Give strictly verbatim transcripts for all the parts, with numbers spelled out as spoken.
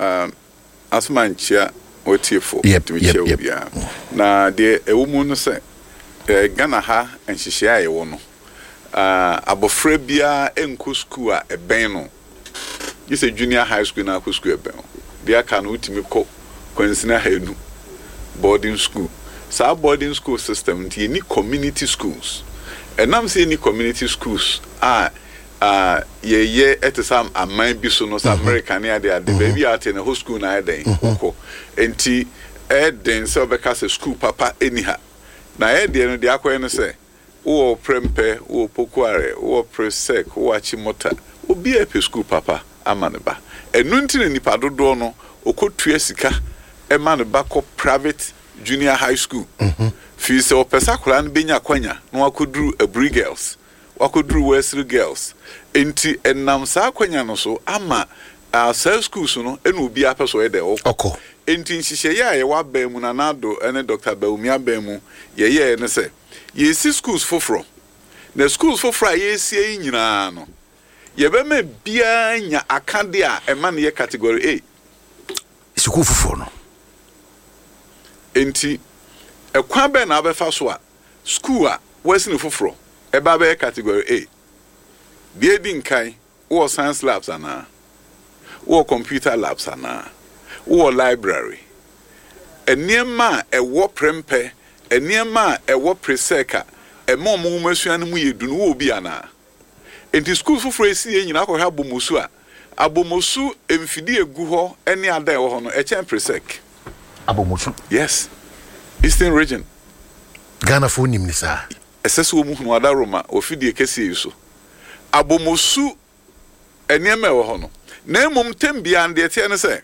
Um, asoma nkyia wɔtiefo. Yep, tumi yep, kyia wo yep. biara. Na deɛ ɛwɔ mu no sɛ eh, Ghana ha nhyehyɛeɛ a yɛwɔ no, ah, abɔfra biara nkɔ sukuu a ɛbɛn no, gye sɛ junior high school na akɔ sukuu ɛbɛn wo. Deɛ aka no, wotumi kɔ kwansini ahanu, boarding school. Saa boarding school system nti yɛni community schools. Ɛnam sɛ yɛni community schools a a yɛyɛ ɛte sɛ aman bi so no, sɛ America ne ade ade, baabi a ate no hɔ school na ayɛ dɛn wokɔ. Nti ɛyɛ den sɛ wobɛka sɛ school papa ɛni ha. Na ɛyɛ deɛ no deɛ akɔyɛ no sɛ wowɔ Prempeh, wowɔ Pokuare, wowɔ Presec, wowɔ Achimota, obiara pɛ school papa ama ne ba. Ɛno nti na nipa dodoɔ no ɔkɔtua sika ɛma ne ba kɔ private junior high school, fii sɛ ɔpɛ sɛ akwadaa no bɛnya akwanya na wakɔduru Aburi Girls, wakɔduru Wesley Girls. Nti ɛnam saa akwanya no so ama uh, saa schools no ɛna obiara pɛ sɛ ɔyɛ dɛ ɔkɔ. Ɔkɔ. Nti nhyehyɛeɛ a yɛwɔ aban mu, Nana Addo ne Doctor Bawumia aban mu, yɛyɛɛ ne sɛ yɛsi schools foforɔ. Na schools foforɔ a yɛsie yi nyinaa no, yɛbɛma biara nya akade a ɛma no yɛ category A. Sukuu foforɔ no. Nti ɛkwan bɛn na abɛfa so a school a wɔasi no foforɔ ɛba bɛyɛ category A? Deɛ edi nkan, wowɔ science labs anaa? Wowɔ computer labs anaa? Wowɔ library? Nneɛma a ɛwɔ Prempeh, nneɛma a ɛwɔ Presec a ɛma ɔmo nwoma sua no mu yɛ du no, wowɔ bi anaa? Nti school foforɔ esi yɛ nyinaa, akɔhwɛ Abomosu a, Abomosu mfidie egu hɔ ɛne adan ɛwɔ hɔ no ɛkyɛn Presec. Abomosu? Yes, Eastern Region. Ghanafoɔ nim ne saa? Ɛsɛ sɛ wɔn hunu adaroma wɔ fidie kɛseɛ yi so. Abomosu nneɛma a ɛwɔ hɔ no, na mmom tɛm biara no, deɛ teɛ no sɛ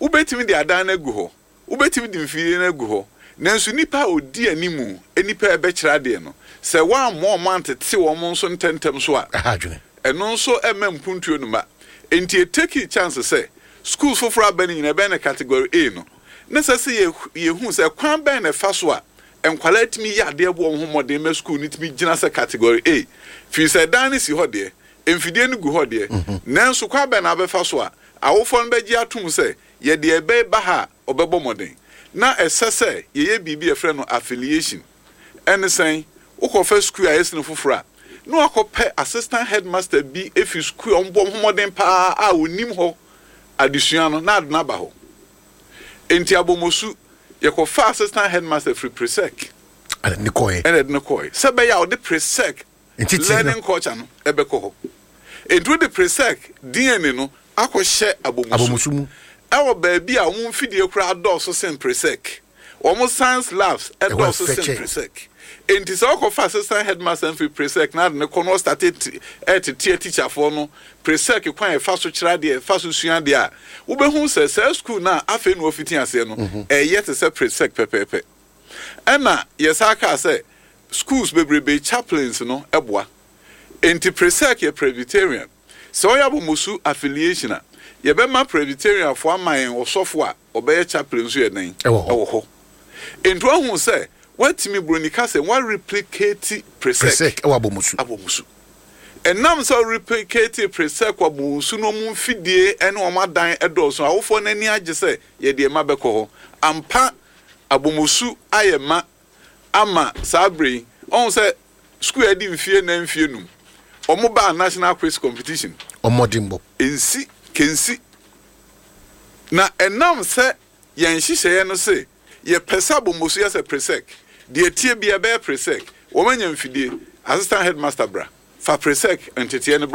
wobɛtumi de adan no agu hɔ, wobɛtumi de mfidie no agu hɔ, nanso nipa a odi animu, nipa a ɛbɛkyerɛ adeɛ no, sɛ wɔammɔ wɔn antete wɔn nso ntɛntɛm so a, ɛha adwene. Ɛno nso ɛmɛ mpuntuo no ma. Nti etake chance sɛ schools foforɔ aba no nyinaa ɛbɛn no category A no, ne sɛ sɛ yɛ yɛhu sɛ kwan bɛn na ɛfa so a nkwadaa tumi yɛ adeɛ bɔ wɔn ho mmɔden ma school no tumi gyina sɛ category A, firi sɛ dan no si hɔ deɛ, mfidie no gu hɔ deɛ, nanso kwan bɛn na abɛfa so a awofoɔ no bɛgye atom sɛ yɛde ɛbɛn ba ha a ɔbɛbɔ mmɔden? Na ɛsɛ sɛ yɛyɛ biribi a yɛfrɛ no affiliation. Ɛne sɛn? Wokɔfɛ school a yɛsi no foforɔ a, na wakɔpɛ assistant headmaster bi efi school a ɔmbɔ ho mmɔden paa a onim hɔ adesua no na ade no aba hɔ. Nti Abomosu, yɛkɔfa assistant headmaster firi Presec. Ɛna ne kɔɛ. Ɛna ɛde no kɔɛ sɛ bɛyɛ a ɔde Presec nti learning culture no ɛbɛkɔ hɔ. Nti wode Presec D N A no akɔhyɛ Abomosu Abomosu mu. Ɛwɔ baabi a wɔn mfidie koraa dɔɔso sen Presec, wɔn science labs ɛdɔɔso sen ɛfɛkyɛ. Presec. Nti sɛ ɔkɔfa assistant headmaster mfiri Presec na ade ne kɔ na ɔstart ɛtete teacherfoɔ no Presec kwan a ɛfa so kyerɛ adeɛ, ɛfa so sua adeɛ a, wobɛhu sɛ saa school no a afei na wɔfiti aseɛ no ɛyɛ te sɛ Presec pɛpɛɛpɛ. Ɛna yɛsa kaa sɛ schools bebrebe chaplains no ɛboa. Nti Presec yɛ Presbyterian. Sɛ ɔyɛ Abomosu affiliation a, yɛbɛma Presbyterianfoɔ ama yɛn ɔsɔfo a ɔbɛyɛ chaplain nso yɛ dɛn? Ɛwɔ hɔ. Ɛwɔ hɔ. Nti wahu sɛ watumi, buroni ka sɛ wareplicate Presec. Presec ɛwɔ Abomosu. Abomosu. Ɛnam sɛ replicate Presec wɔ Abomosu no, ɔmo mfidie ɛne ɔmo adan ɛdɔɔso, awofoɔ n'ani agye sɛ yɛde ɛma bɛkɔ hɔ ampa. Abomosu ayɛ ma ama saa bere yi, ɔho sɛ school a ɛdi mfie nan, mfie num, ɔmo baa national quiz competition. Ɔmmɔdenbɔ. Nsi kensi na ɛnam sɛ yɛn nhyehyɛeɛ no se yɛpɛ sɛ Abomosu yɛ sɛ Presec deɛ, tie bi ɛbɛyɛ Presec. Wɔn anya mfidie, assistant headmaster bra fa Presec nteteɛ no bra.